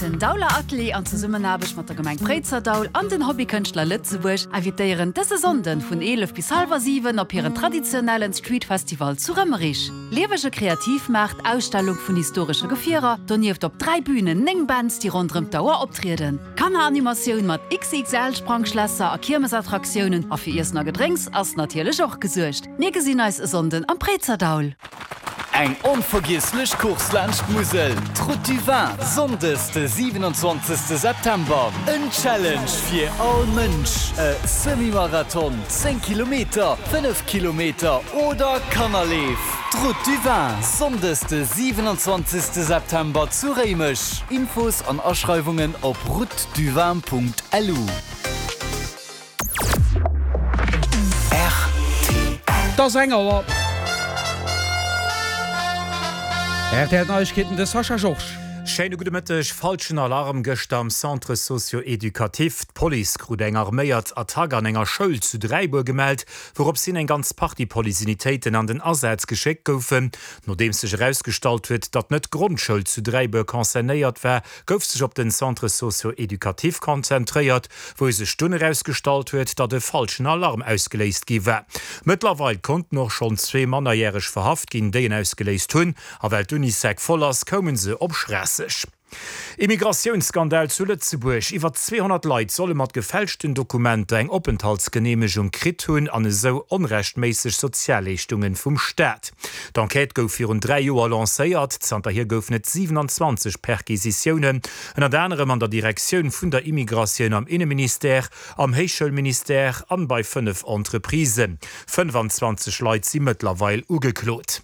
Den Dauler Atelier an Zesummenaarbecht mat der Gemeng Préizerdaul an den Hobbykënschtler Lëtzebuerg invitéieren dëse Sonnden vun 11 bis hallwer 7 op hiren traditionellen Street Festival zu Rëmmerich. Liewege Kreativmaart, Ausstellung vun historesche Gefierer, donieft op 3 Bünen 9 Bands déi ronderëm d'Auer optrieden, Kanneranimatioun mat XXL Sprangschlässer a Kiermesattraktiounen a fir Iessen a Gedrénks ass natierlech och gesuergt. Mir gesinn eis e Sonnden am Préizerdaul. Eng onvergiesslech Course laanscht d'Musel, d'Route du Vin, Sonndes de 27 September. En Challenge fir all Mënsch, e Semi-Marathon, 10 Kilometer, 5 Kilometer oder Kannerleef. D'Route du Vin, Sonndes de 27 September zu Réimech. Infos an Aschreiwungen op routeduvin.lu. Et ass eng Auer. Rtl Neiegkeeten, de Sascha Georges. Schéine gudde Mëtteg. Falschen Alarm gëschter am Centre socio-éducatif. D'Police krut eng arméiert Attack an enger Schoul zu Dräibuer gemellt, wourops hin eng ganz Partie Policeunitéiten an den Asaz geschéckt goufen. Nodeems sech erausgestallt huet, datt net d'Grondschoul zu Dräibuer concernéiert war, gouf sech op den Centre socio-éducatif konzentréiert, wou sech dunn erausgestallt huet, datt e falschen Alarm ausgeléist gi war. Mëttlerweil konnten och schonn zwee Mannerjäreg verhaft ginn, déi en ausgeléist hunn, a well d'Unisec voll ass, koume se op Schraasseg. Immigratiounsskandal zu Lëtzebuerg, Iwwer 200 Leit solle mat gefälschten Dokumenter eng Openthaltsgeneemegung kritt hunn an esou onrechtméisseg Sozialleeschtungen vum Staat. D'Enquête gouf virun 3 Joer lancéiert. Zanterhier goufen et 27 Perquisitiounen, ënnert anerem an der Direktioun vun der Immigratioun am Inneministère, am Héichschoulministère an bei 5 Entreprisen. 25 Leit si mëttlerweil ugeklot.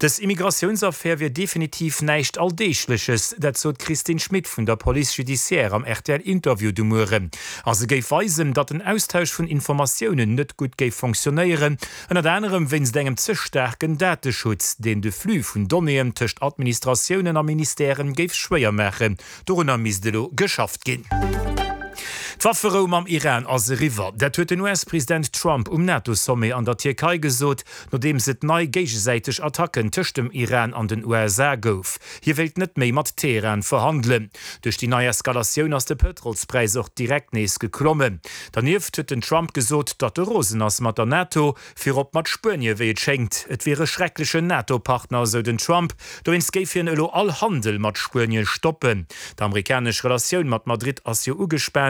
Dës Immigratiounsaffär wier definitiv näischt Alldeegleches, dat sot d'Christine Schmit vun der Police judiciaire am RTL-Interview de Mueren. A se géif weisen, datt den Austausch vun Informatiounen net gutt géif fonctionnéieren, Ënnert anerem wéinst engem ze staarken Dateschutz, deen de Flux vun Donnéeën tëscht Administratiounen a Ministèren géif schwéier maachen. Dorunner misst elo geschafft ginn. D'Wafferou mam Iran ass eriwwer. Dat huet den US-President Trump um NATO-Sommet an der Tierkei gesot, nodeems et nei géigesäiteg Attacken tëscht dem Iran an den USA gouf. Hie wéilt net méi mat Teheran verhandelen. Duerch déi nei Eskalatioun ass de Pëtrolspräis och direkt nees geklommen. Dernieft huet den Trump gesot, datt e rosen ass mat der NATO, virop mat Spuenie wéi et schéngt. Et wier e schrecklechen NATO-Partner, esou den Trump. Dowéinst géif hien elo all Handel mat Spuenie stoppen. D'amerikanesch Relatioun mat Madrid ass jo ugespaant.